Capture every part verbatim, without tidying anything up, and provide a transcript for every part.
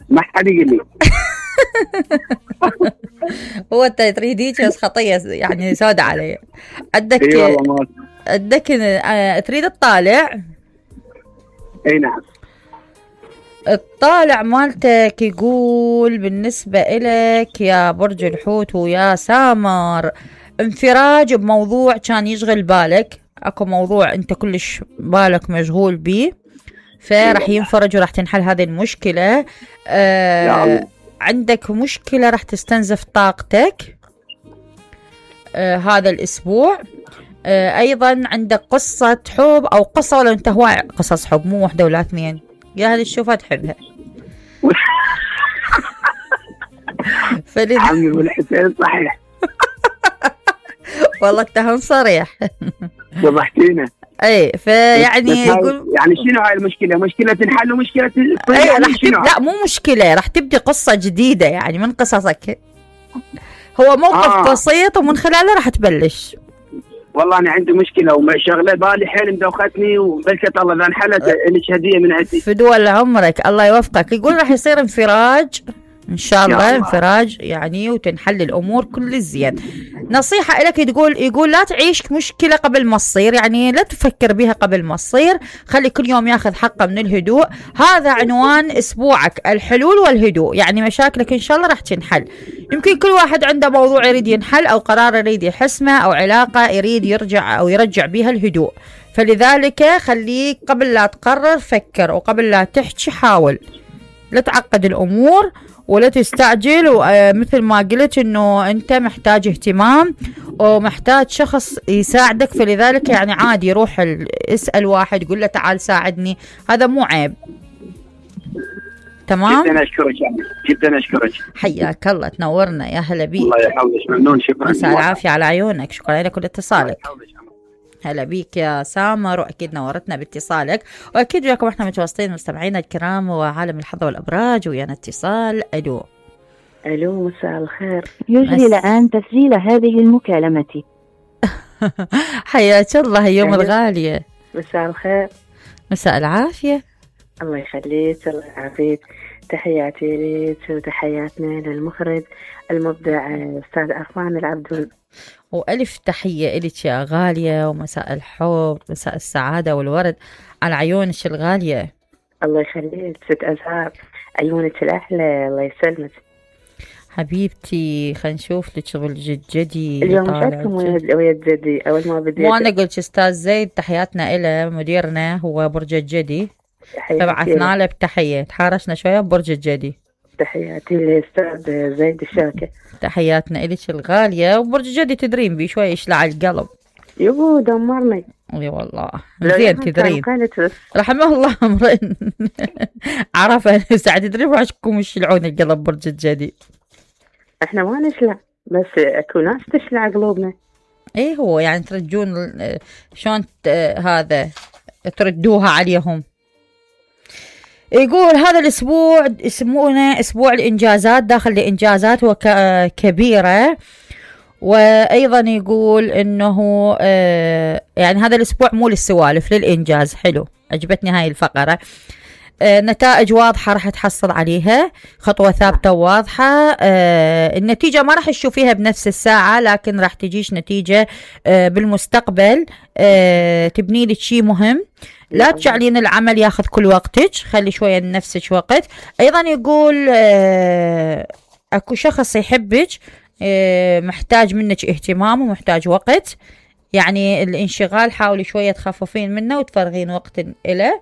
ما حد يقول لي. هو انت تريد هيك بس خطيه يعني سودة علي. عندك اي والله ما عندك آه، تريد تطالع. اي نعم. الطالع مالتك يقول بالنسبة إلك يا برج الحوت ويا سامر انفراج بموضوع كان يشغل بالك، اكو موضوع انت كلش بالك مشغول بيه، فرح ينفرج وراح تنحل هذه المشكلة. آه عندك مشكلة راح تستنزف طاقتك آه هذا الأسبوع. آه أيضا عندك قصة حب أو قصة، ولا أنت هواي قصص حب مو واحدة ولا اثنين، يا هذه تشوفها تحبها. فلذا عمي والحسين صحيح. والله اتهم صريح. ذبحتينا. اي فيعني يقول يعني شنو هاي المشكله؟ مشكله تنحل ومشكله اي راح تب... لا مو مشكله، راح تبدي قصه جديده يعني من قصصك. هو موقف آه. بسيط ومن خلاله راح تبلش. والله انا عندي مشكله وشغله بالي حيل مدوختني، وبلكت الله اذا انحلت لك هديه من عندي. فدول عمرك الله يوفقك. يقول راح يصير انفراج ان شاء الله، انفراج يعني وتنحل الامور كل الزين. نصيحه لك تقول يقول لا تعيش مشكله قبل ما تصير، يعني لا تفكر بها قبل ما تصير، خلي كل يوم ياخذ حقه من الهدوء. هذا عنوان اسبوعك، الحلول والهدوء، يعني مشاكلك ان شاء الله راح تنحل. يمكن كل واحد عنده موضوع يريد ينحل او قرار يريد يحسمه او علاقه يريد يرجع او يرجع بها الهدوء، فلذلك خليك قبل لا تقرر فكر، وقبل لا تحكي حاول، لا تعقد الامور ولا تستعجل. ومثل ما قلت انه انت محتاج اهتمام ومحتاج شخص يساعدك، فلذلك يعني عادي روح اسأل واحد قول له تعال ساعدني، هذا مو عيب. تمام. جدا اشكرك يعني. جدا اشكرك. حياك الله، تنورنا، يا هلا بيك. الله يحفظك، ممنون، شكرا. مساء العافية على عيونك، شكرا لك ولاتصالك. هلا بيك يا سامر، واكيد نورتنا باتصالك، واكيد وياكم احنا متواصلين مستمعينا الكرام وعالم الحظ والابراج. ويانا اتصال. الو الو مساء الخير. يجري الان تسجيل هذه المكالمة. حياك الله يوم الغالية. مساء الخير. مساء العافية. الله يخليك، الله يعافيك. تحياتي لك وتحياتنا للمخرج المبدع استاذ عفان العبدون، وألف تحية إلك يا غالية، ومساء الحب، مساء السعادة والورد على عيونك الغالية. الله يخليك ست أزهار، عيونك الأحلى، الله يسلمك حبيبتي. خلينا نشوف لك شغل جد جدي. اليوم شفتكم ويا جدي أول ما بديت. مو أنا قلت أستاذ زيد تحياتنا إله، مديرنا هو برج الجدي، فبعثنا له بتحية، تحارشنا شوية ببرج الجدي. تحياتي للأستاذ زيد الشاكر. تحياتنا إلك الغالية، وبرج الجدي تدرين بي شوي يشلع القلب. يبو دمرني. اي والله زين تدرين. رحمه الله امرئ عرف ساعة تدرين وعشكم يشلعون القلب برج الجدي. احنا ما نشلع، بس اكو ناس تشلع قلوبنا. ايه هو يعني ترجون شلون هذا تردوها عليهم. يقول هذا الأسبوع يسمونه أسبوع الإنجازات، داخل الإنجازات وكبيرة. وأيضا يقول أنه آه يعني هذا الأسبوع مو للسوالف، للإنجاز. حلو، عجبتني هاي الفقرة. آه نتائج واضحة راح تحصل عليها، خطوة ثابتة وواضحة. آه النتيجة ما راح تشوفيها بنفس الساعة، لكن راح تجيش نتيجة آه بالمستقبل. آه تبني لك شيء مهم. لا تجعلين العمل ياخذ كل وقتك، خلي شوية لنفسك وقت. أيضا يقول آه أكو شخص يحبك، آه محتاج منك اهتمام ومحتاج وقت، يعني الانشغال حاولي شوية تخففين منه وتفرغين وقت إله.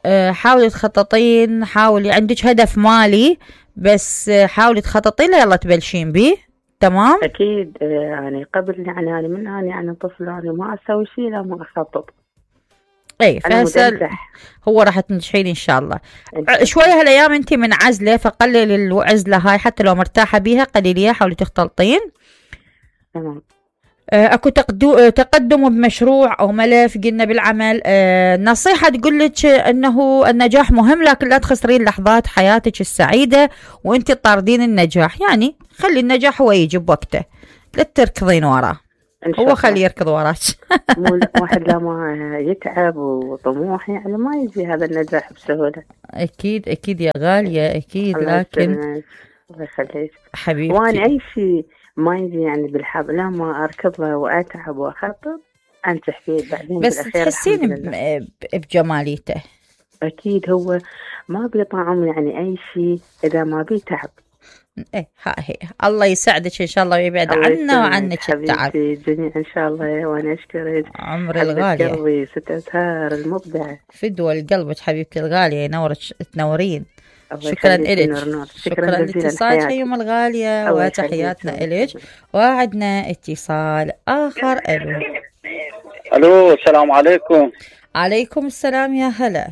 أه حاولي تخططين، حاولي عندك هدف مالي بس حاولي تخططين له، يلا تبلشين بيه. تمام. اكيد يعني قبل يعني انا من انا يعني طفل انا ما اسوي شيء لا ما اخطط. اي فهسه هو راح تنجحين ان شاء الله. شويه هالايام انت من عزله، فقللي العزله هاي حتى لو مرتاحه بيها قليليها، حاولي تختلطين. تمام. اكو تقدم بمشروع او ملف قلنا بالعمل. أه نصيحة تقول لك انه النجاح مهم، لكن لا تخسرين لحظات حياتك السعيدة وانت طاردين النجاح، يعني خلي النجاح هو يجي بوقته، لا تركضين وراه. إن شاء هو الله. خليه يركض وراك. مو لا- واحد لما يتعب وطموح يعني ما يجي هذا النجاح بسهولة. اكيد اكيد يا غالية اكيد، الله لكن يسلمك، الله يخليك. حبيبتي وانا اي شيء ما يجي يعني بالحظ لما اركض له واتعب واخطط انجح فيه بعدين بس بالاخير تحسين الحمد لله. ب- بجماليته. اكيد هو ما بيطعم يعني اي شيء اذا ما بيتعب. ايه ها هي، الله يسعدك ان شاء الله ويبعد الله عنا يسلمك وعنك التعب. حبيبتي الجميع ان شاء الله. وانا اشكرك عمري حبة الغالية، قلبي ست أزهار المبدعة. فدوى لقلبك حبيبتي الغالية، ينورك تنورين. الله شكرا يخليك إلك، نور نور. شكرا جزيلا لاتصالك حياتي. يوم الغالية الله يخليك. وتحياتنا إلك. وعدنا اتصال آخر. ألو. الو السلام عليكم. عليكم السلام يا هلا.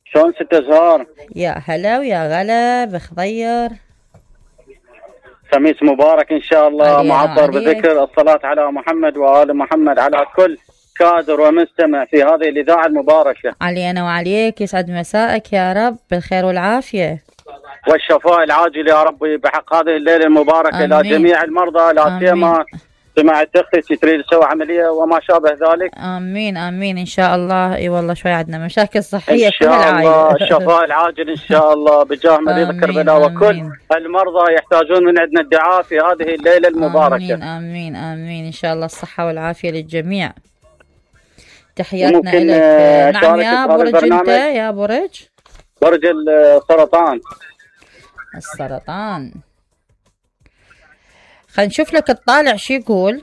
شلون ست أزهار؟ يا هلا ويا غلا بخضير. خميس مبارك ان شاء الله، علينا معطر عليك. بذكر الصلاة على محمد وآل محمد على كل كادر ومستمع في هذه الإذاعة المباركة. علينا وعليك، يسعد مساءك يا رب بالخير والعافية والشفاء العاجل يا ربي بحق هذه الليلة المباركة آمين. لجميع المرضى، لا آمين. سيما سمعت اختي تريد تسوي عملية وما شابه ذلك. آمين آمين إن شاء الله. إي والله شوي عندنا مشاكل صحية ان في شاء الله العائلة. الشفاء العاجل ان شاء الله بجاه مريض آمين، كربلاء، وكل آمين. المرضى يحتاجون من عندنا الدعاء في هذه الليلة المباركة. آمين آمين آمين إن شاء الله الصحة والعافية للجميع. تحياتنا ممكن لك. آه، نعم أشارك يا في هذا برج، أنت البرنامج؟ يا برج برج السرطان. السرطان. خلينا نشوف لك الطالع شو يقول.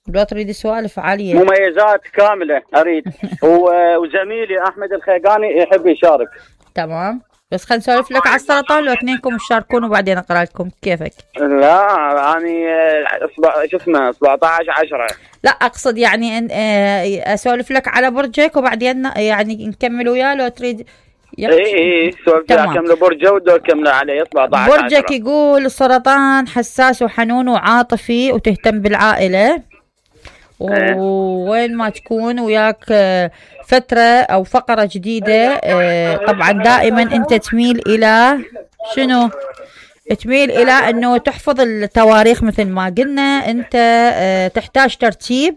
لو تريد سوالف عالية. مميزات كاملة أريد. و- وزميلي أحمد الخيقاني يحب يشارك. تمام، بس خلينا نسولف لك على السرطان لو اثنينكم تشاركون وبعدين اقرا لكم كيفك. لا يعني أصبع- شو اسمه سبعة عشر عشرة. لا اقصد يعني ان آه، اسولف لك على برجك وبعدين يعني نكمل وياه لو تريد. اي اي سولفت تمام. كملوا برجه ودول كملوا عليه سبعة عشر برجك عشرة. يقول السرطان حساس وحنون وعاطفي وتهتم بالعائلة، ووين ما تكون وياك آه، فترة أو فقرة جديدة. آه، طبعا دائما أنت تميل إلى شنو؟ تميل إلى أنه تحفظ التواريخ مثل ما قلنا. أنت آه، تحتاج ترتيب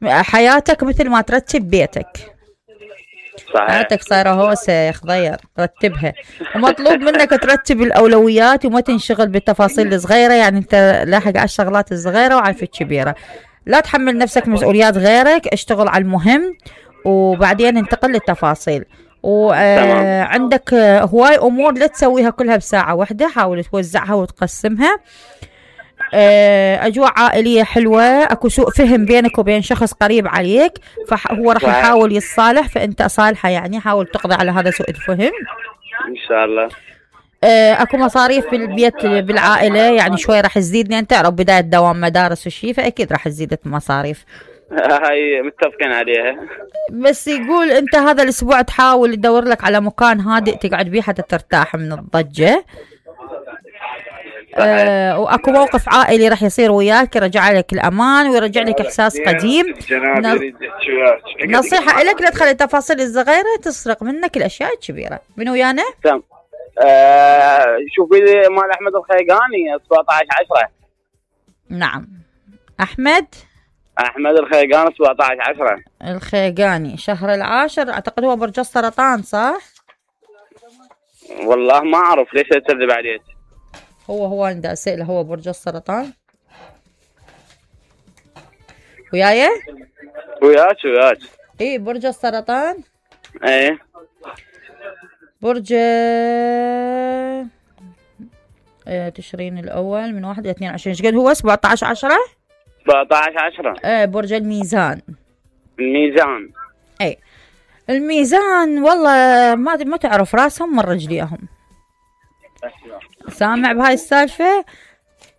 حياتك مثل ما ترتب بيتك. صحيح. حياتك صايرة هوسة يا خضير، رتبها. ومطلوب منك ترتب الأولويات وما تنشغل بالتفاصيل الصغيرة. يعني أنت لاحق على الشغلات الصغيرة وعلى الكبيرة. لا تحمل نفسك مسؤوليات غيرك، اشتغل على المهم وبعدين انتقل للتفاصيل. وعندك هواي أمور لا تسويها كلها بساعة واحدة، حاول توزعها وتقسمها. آه، أجواء عائلية حلوة، أكو سوء فهم بينك وبين شخص قريب عليك، فهو راح يحاول يتصالح، فأنت صالحة يعني حاول تقضي على هذا سوء الفهم ان شاء الله. آه، اكو مصاريف بالبيت بالعائلة، يعني شوي راح تزيد لان تعرف بداية دوام مدارس وشي، فأكيد راح تزيد المصاريف. هاي متفقين عليها. بس يقول انت هذا الاسبوع تحاول تدور لك على مكان هادئ تقعد بيه حتى ترتاح من الضجة. آه، واكو موقف عائلي راح يصير وياك يرجع لك الامان ويرجع لك احساس قديم. نصيحة لك لا تخلي التفاصيل الصغيرة تسرق منك الاشياء الكبيرة. من ويانا؟ تمام. آه شوفي لي مال احمد الخيقاني سبعة عشر عشرة. نعم احمد احمد الخيقاني سبعة عشر عشرة. الخيقاني شهر العاشر، اعتقد هو برج السرطان صح؟ والله ما اعرف ليش اكذب عليك. هو هو عند اسئله هو برج السرطان. وياي؟ وياك وياك. ايه برج السرطان. ايه برج آه، تشرين الاول من واحد الى اثنين وعشرين. ايش قد هو؟ سبعة عشر عشرة. سبعة عشر عشرة. ايه برج الميزان. الميزان. ايه الميزان والله ما ما تعرف راسهم من رجليهم. سامع بهاي السالفة؟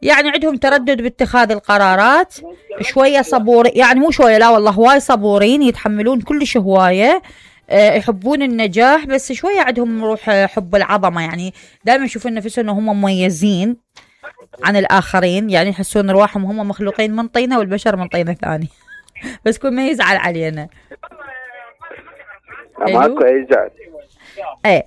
يعني عندهم تردد باتخاذ القرارات، شوية صبور، يعني مو شوية لا والله هواي صبورين، يتحملون كلش هواية، أه يحبون النجاح، بس شوية عندهم روح حب العظمة، يعني دائما يشوفون نفسهم انهم مميزين عن الآخرين، يعني يحسون رواحهم هم مخلوقين من طينة والبشر من طينة ثانية. بس كل ما يزعل علينا. ماكو اي زعل. ايه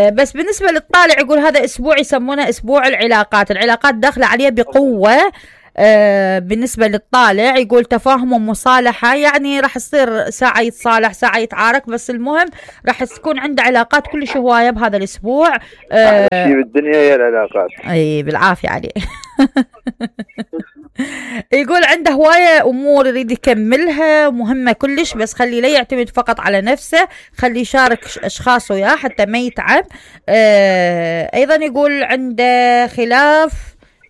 بس بالنسبة للطالع يقول هذا أسبوع يسمونه أسبوع العلاقات. العلاقات داخلة عليه بقوة. آه بالنسبة للطالع يقول تفاهم ومصالحة، يعني راح يصير ساعة يتصالح ساعة يتعارك، بس المهم راح تكون عنده علاقات كلش هواية بهذا الأسبوع. آه أحلى شيء بالدنيا هي العلاقات. أي بالعافية عليه. يقول عنده هواية أمور يريد يكملها مهمة كلش، بس خلي لا يعتمد فقط على نفسه، خلي يشارك أشخاص وياه حتى ما يتعب. آه أيضا يقول عنده خلاف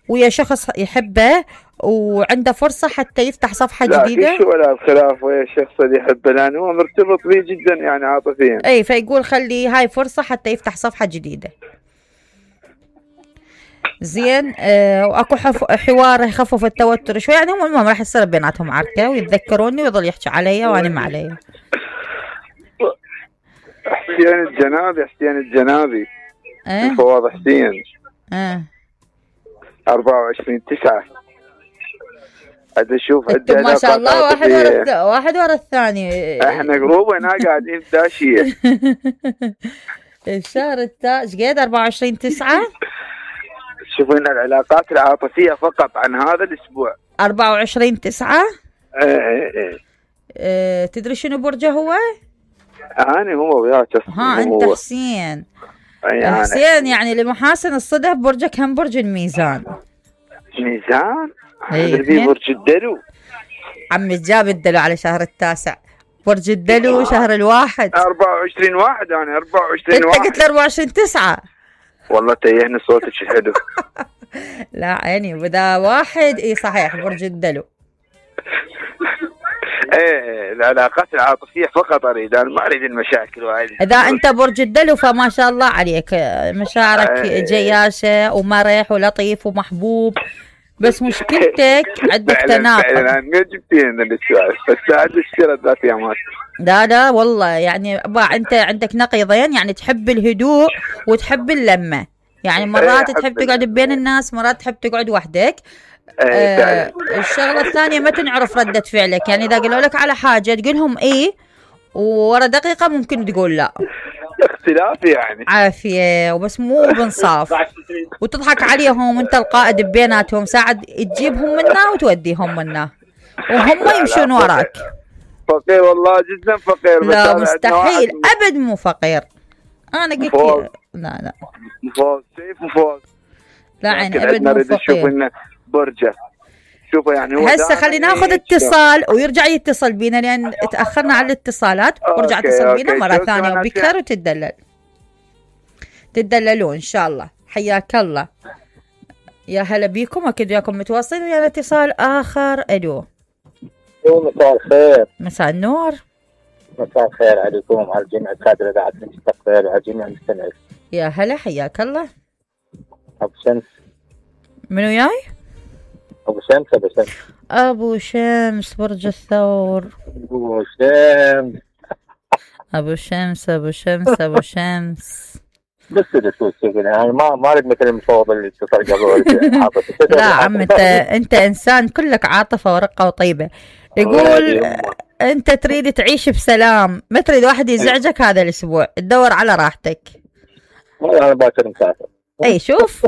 ويا شخص يحبه وعنده فرصة حتى يفتح صفحة لا جديدة. لا شو ولا الخلاف ويا الشخص اللي يحبه، لأنه هو مرتبط به جدا يعني عاطفيا. أي فيقول خلي هاي فرصة حتى يفتح صفحة جديدة. زين. آه واكو حوار يخفف التوتر شوي، يعني هم المهم راح يصير بيناتهم عركه ويتذكروني ويظل يحكي علي وانا ما علي. حسين الجنابي حسين الجنابي اه فواض حسين اه أربعة وعشرين تسعة. عاد اشوف انتم ما شاء الله واحد ورا واحد ورا الثاني. احنا جروب هنا قاعدين في داشيه. الشهر التاج قد أربعة وعشرين تسعة. شوفين العلاقات العاطفية فقط عن هذا الأسبوع. أربعة وعشرين تسعة. ايه ايه ايه. اه تدري شنو برجه هو؟ أنا هو وياك. ها أنت هو. حسين. يعني حسين يعني لمحاسن الصدف برجك هم برج الميزان. ميزان؟ ايه في برج الدلو. عمي جاب الدلو على شهر التاسع. برج الدلو شهر الواحد. أربعة وعشرين واحد أنا أربعة وعشرين واحد. أنت قلت أربعة وعشرين تسعة. والله تيهني صوتك حلو. لا عيني بدا واحد. اي صحيح برج الدلو. ايه العلاقات العاطفية فقط اريد، انا ما اريد المشاكل وهذه. اذا انت برج الدلو فما شاء الله عليك، مشاعرك ايه جياشة ومرح ولطيف ومحبوب، بس مشكلتك عندك تناقض. فعلا ما جبتين السؤال، بس عاد السيرة ذات يامات. لا لا والله يعني انت عندك نقيضين، يعني تحب الهدوء وتحب اللمة، يعني مرات ايه تحب تقعد بين الناس مرات تحب تقعد وحدك. ايه آه الشغلة الثانية ما تنعرف ردة فعلك، يعني إذا قالوا لك على حاجة تقولهم إيه وورا دقيقة ممكن تقول لا. اختلاف يعني. عافية وبس مو بنصاف، وتضحك عليهم وانت القائد بيناتهم، ساعد تجيبهم منا وتوديهم منا وهم يمشون وراك. فقير والله جدا فقير. لا مستحيل أبد مو فقير. أنا قلت لا لا مفوز شيء مفوز. لا عين أبد مو فقير. برجة شوفوا يعني هو هسه خلينا ناخذ اتصال ويرجع يتصل بينا لان تاخرنا على الاتصالات، ورجع اتصل بينا مره ثانيه وبكر وتدلل تدللون ان شاء الله. حياك الله. يا هلا بيكم، اكيد وياكم متواصلين ويا اتصال اخر. الو مساء الخير. مساء النور. مساء الخير عليكم على جميع الكادر اذاعه المستقبل وعلى جميع المستمعين. يا هلا حياك الله. ابو شمس. منو جاي؟ ابو شمس. ابو شمس ابو شمس برج الثور. ابو شمس ابو شمس ابو شمس ابو شمس. بس الاسود يعني ما ما اريد مثل المفوض اللي اتصل قبل. لا عم انت انت انسان كلك عاطفه ورقه وطيبه. يقول انت تريد تعيش بسلام، ما تريد واحد يزعجك هذا الاسبوع، تدور على راحتك. والله انا باكر مسافر. اي شوف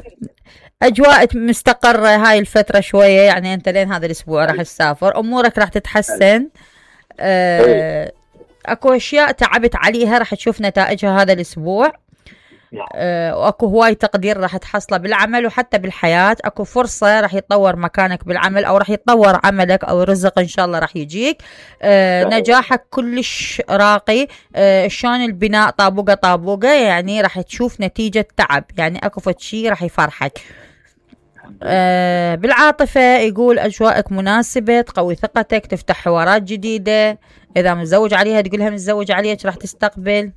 اجواء مستقره هاي الفتره شويه، يعني انت لين هذا الاسبوع راح تسافر، امورك راح تتحسن. آه اكو اشياء تعبت عليها راح تشوف نتائجها هذا الاسبوع. آه واكو هواي تقدير راح تحصله بالعمل وحتى بالحياه، اكو فرصه راح يتطور مكانك بالعمل او راح يتطور عملك او رزق ان شاء الله راح يجيك. آه نجاحك كلش راقي. آه شلون البناء طابوقه طابوقه، يعني راح تشوف نتيجه تعب، يعني اكو فد شيء راح يفرحك. آه بالعاطفه يقول اجواءك مناسبه، تقوي ثقتك، تفتح حوارات جديده، اذا متزوج عليها تقولها متزوج عليك راح تستقبل.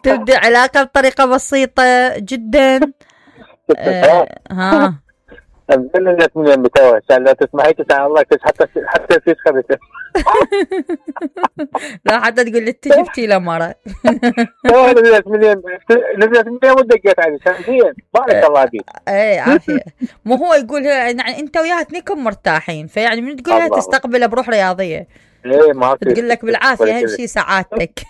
تبدأ علاقة بطريقة بسيطة جدا. آه ها أبدأ من المتوه عشان لا تسمعي تسعى الله حتى حتى في خبثة. لا حتى تقول لي تجبتي له مرة. نزلت مليون نزلت مليون ودقيت علي شمسيا بارك الله فيك. ايه عافية. مو هو يقول يعني انت وياها اثنينكم مرتاحين، فيعني من تقولها تستقبله بروح رياضية. ايه ما تقول لك بالعافية اهم شيء سعادتك.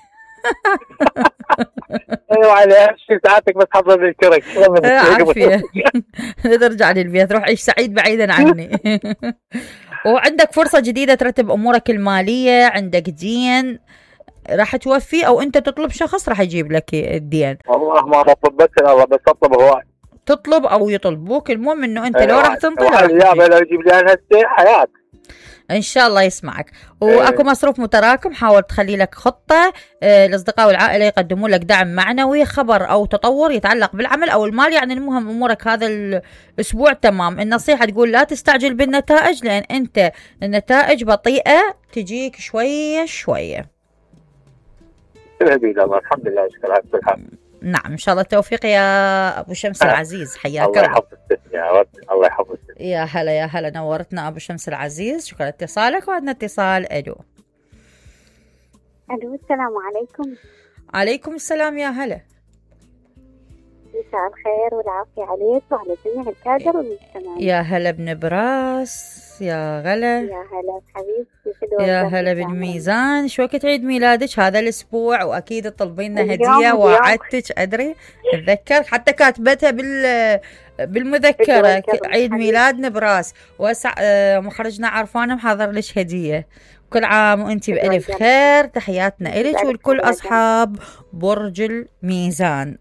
ايوه على شيء ساعتك بس حضر الكرك. عافية. ترجع للبيت، روح عيش سعيد بعيدا عني. وعندك فرصة جديدة ترتب أمورك المالية، عندك دين راح توفي، أو أنت تطلب شخص راح يجيب لك الدين. والله ما بطلب بس الله، بس أطلب هواي. تطلب أو يطلبوك، المهم إنه أنت أيوة. لو راح تنطر يا لو يجيب لي أنا هسه حياة. ان شاء الله يسمعك. واكو مصروف متراكم، حاول تخلي لك خطه. آه الاصدقاء والعائله يقدمون لك دعم معنوي، خبر او تطور يتعلق بالعمل او المال، يعني المهم امورك هذا الاسبوع تمام. النصيحه تقول لا تستعجل بالنتائج، لان انت النتائج بطيئه تجيك شويه شويه. الله الحمد لله اشكر كل حال. نعم ان شاء الله التوفيق يا ابو شمس العزيز، حياك الله. الله يحفظك يا رب، الله يحفظك. يا هلا يا هلا، نورتنا ابو شمس العزيز، شكرا لاتصالك. وعندنا اتصال. الو الو السلام عليكم. عليكم السلام يا هلا. مساء الخير والعافية عليك وعلى جميع الكادر والمستمعين. يا هلا بنبراس، يا غلا. يا هلا حبيبتي. يا هلا بالميزان. شو وقت عيد ميلادك هذا الاسبوع؟ واكيد تطلبين لنا هديه، وعدتك ادري اتذكر حتى كاتبتها بال بالمذكره عيد ميلاد نبراس. واسع مخرجنا عرفانه محضر لك هديه. كل عام وانت بالف خير. تحياتنا الك ولكل اصحاب برج الميزان.